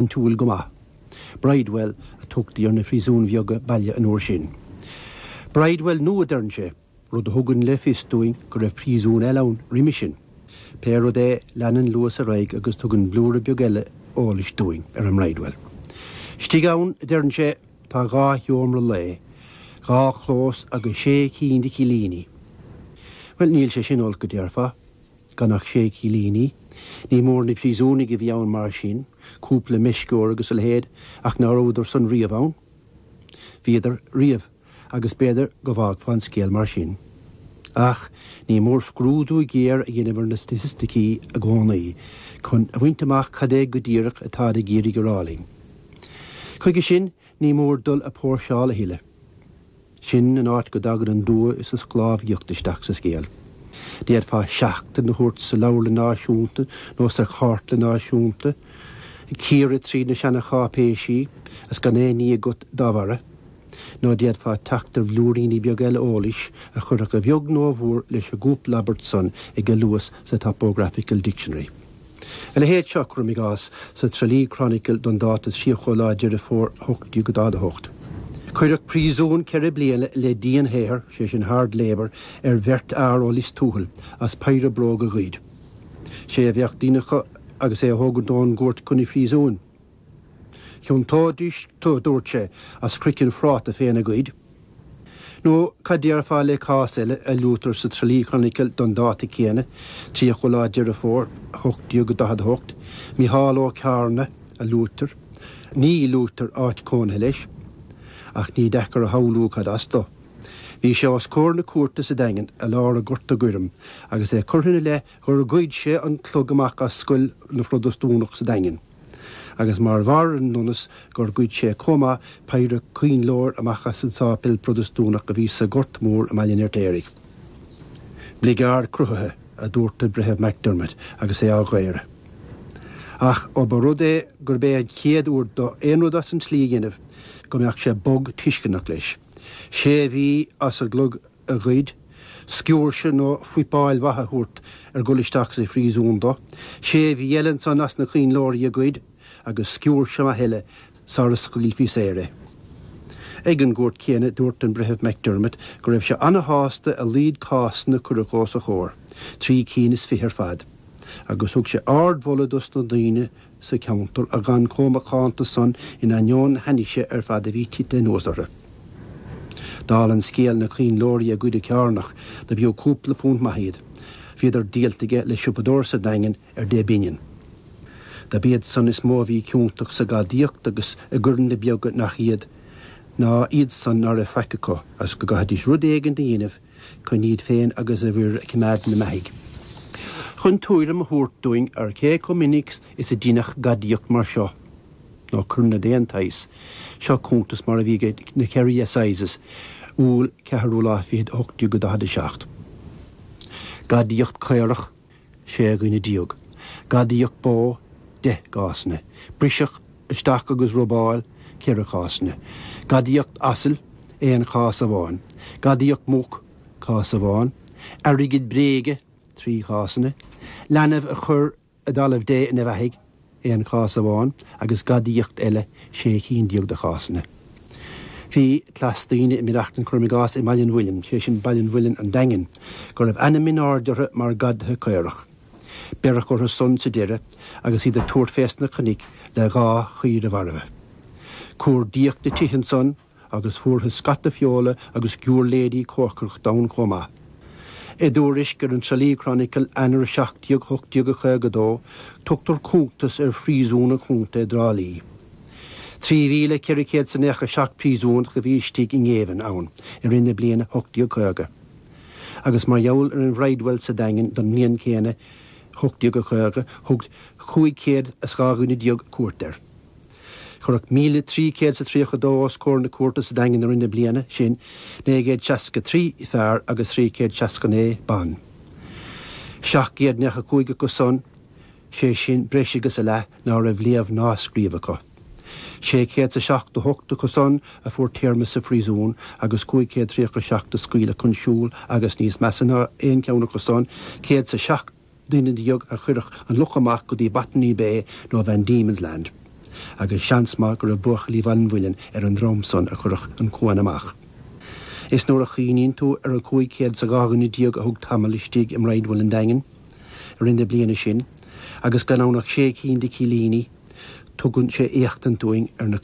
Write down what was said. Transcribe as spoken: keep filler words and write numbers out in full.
barántúil go maith. Bridewell a tugtaí ar na príosúin bheaga baile an uair sin. Bridewell nua deireann sé, rud a thugann le fios dúinn go raibh príosún eile ann roimhe sin. Pé rud é leanann Lewis ar aghaidh agus tugann blúire beag eile eolais dúinn ar an mBridewell. Istigh ann deireann sé tá dhá sheomra lae, dhá chlós agus sé cinn de chillíní. Well níl sé sin olc go déarfá, gan ach sé cillíní, ní mór na príosúnaigh a bhí ann mar sin, cúpla meisceoir agus a leithéid ach ná rabhadar san riamh ann. Bhíodar riamh agus b'fhéidir go bhfágfá an scéal mar sin. Ach ní mór scrúdú géar a dhéanamh ar na staitisticí i gcónaí chun a bhaint amach cad é go díreach atá ag iarraidh a rá linn. Chuige sin ní mór dul a póirseáil a thuilleadh. Sin an áit go dtagann an dua is an sclábhaíocht isteach sa scéal. D'fhéadfá seachtain a thabhairt sa Leabharlann Náisiúnta nó sa Chartlann Náisiúnta, ag cíoradh trí na seancháipéisí is gan aon ní agat dá bharra, nó d'fhéadfá teacht ar bhlúiríní beaga eile eolais a chuirfeadh a bheag nó a mhór leis an gcúpla abairt san ag Lewis sa Topographical Dictionary. A leithéid seo cuirim i gcás sa Tralee Chronicle don dáta tríocha lá Deireadh Fómhair ocht déag daichead a hocht. Cuireadh príosún ceithre bliana le dianshaothar sé sin hard labour ar bheirt fhear ó Lios Tuathail as péire bróg a ghoid. Sé a bheadh duine acu agus é a thógaint ón gcúirt chun an phríosúin. Chiontóidís tú dúirt sé as craiceann phráta féin a ghoid. Nó cad déarfá le cás eile a luaitear sa Tralee Chronicle don dáta céanna, tríocha lá Deireadh Fómhair, ocht déag daichead a hocht, Micheál Ó Cearna a luaitear, ní luaitear áit cónaithe leis, ach ní deacair a shamhlú cad as dó. Bhí sé os comhair na cúirte sa Daingean i lár an Ghorta Ghoirm agus é curtha ina leith gur ghoid sé an clog amach as scoil na Phrotastúnach sa Daingean. Agus mar bharr ar an ndonas gur ghoid sé chomh maith péire coinnleoir amach as an sáipéal Protastúnach a bhí sa Ghort Mór i mBaile an Fheirtéaraigh. Bligeard cruthaithe a dúirt an Breitheamh McDermott agus é á dhaoradh. Ach ó ba rud é gurb é an chéad uair dó aon rud as an tslí a dhéanamh go mbeadh sé bog tuisceanach leis. Sé mhí as an gclog a ghoid, sciúirse nó fuipeáil mhaith a thabhairt ar dhul isteach sa phríosún dó, sé mhí eile ansan as na coinnleoirí a ghoid agus sciúirse maith eile sara scaoilfí saor é. Ag an gcúirt chéanna dúirt an Breitheamh McDermott go raibh sé an-shásta a laghad cásanna a cuireadh os a chomhair, trí cinn is fiche ar fad, agus thug sé ardmholadh dos na daoine sa cheantar a d'fhan chomh macánta san in ainneoin na hainnise ar fad a bhí tite anuas orthu. Dála an scéil na coinnleoirí a ghoid an Cearnach do b'fhiú cúpla punt maith iad, bhíodar díolta aige le siopadóir sa Daingean ar deich bpingin. Do b'iad san is mó a bhí ciontach sa ghadaíocht agus i gcoireanna beaga nach iad ná iad san ná raibh faic acu agus go gcaithfidís rud éigin a dhéanamh chun iad féin agus a bhfir a choimeád ina mbeathaidh. Chun tuairim a thabhairt dúinn ar cé chomh minic is a deineadh gadaíocht mar seo, nó coireanna d'aon tsaghas, seo cuntas mar a bhí ag na Kerry Assizes, Iúil ceathrú lá fichead ocht déag daichead a seacht. Gadaíocht caorach sé dhuine déag. Gadaíocht bó deich gcásanna. Briseadh isteach agus robáil ceithre chásanna. Gadaíocht asail aon chás amháin. Gadaíocht muc cás amháin. Airgead bréige trí chásanna. Leanbh a chur i dtalamh Dé ina bheathaidh aon chás amháin agus gadaíocht eile sé cinn déag de chásanna. Bhí cleas daoine i mBeachtain cuirim i gcás i mBaile an Mhuilinn, sé sin Baile an Mhuilinn an Daingin, go raibh ainm in airde orthu mar ghadaithe caorach. Beireadh orthu san sa deireadh agus iad ag tabhairt fés na cnoic le dhá chaora mharbha. Cuardaíodh na tithe ansan agus fuarthas scata feola agus giúirléidí cócaireachta ann chomh maith. I dtuairisc ar an Tralee Chronicle Eanáir seacht déag ocht déag caoga dó, tugtar cuntas ar phríosún an chontae i dTrá Lí. Trí mhíle ceithre chéad is nócha seacht príosúnach a bhí istigh i ngéibheann ann i rith na bliana ocht déag caoga. Agus mar gheall ar an Bhridewell sa Daingean don mbliain chéanna ocht déag caoga, thug cúig chéad is dhá dhuine déag cuairt air. Cuireadh míle trí chéad is a tríocha dó os comhair na cúirte sa Daingean i rith na bliana sin, naoi gcéad seasca trí fear agus trí chéad seasca naoi ban. Seacht gcéad nócha cúig acu san, sé sin breis agus a leath ná raibh léamh ná scríobh acu. Sé chéad is a seachtó hocht acu san a fuair téarma sa phríosún agus cúig chéad tríocha seacht a scaoileadh chun siúil agus níos measa ná aon cheann acu san, céad is a seacht duine déag a cuireadh an luch amach go dtí Botany Bay nó Van Diemen's Land. agus seans maith go raibh buachaillí Bhaile an Mhuilinn ar an dream san a chuirfeadh an cuan amach. Is nuair a chuimhníonn tú ar an cúig chéad is dhá dhuine déag a thug tamall istigh i mBridewell an Daingin i rith na bliana sin, agus gan ann ach sé cinn de cillíní, tugann sé éachtaint dúinn ar na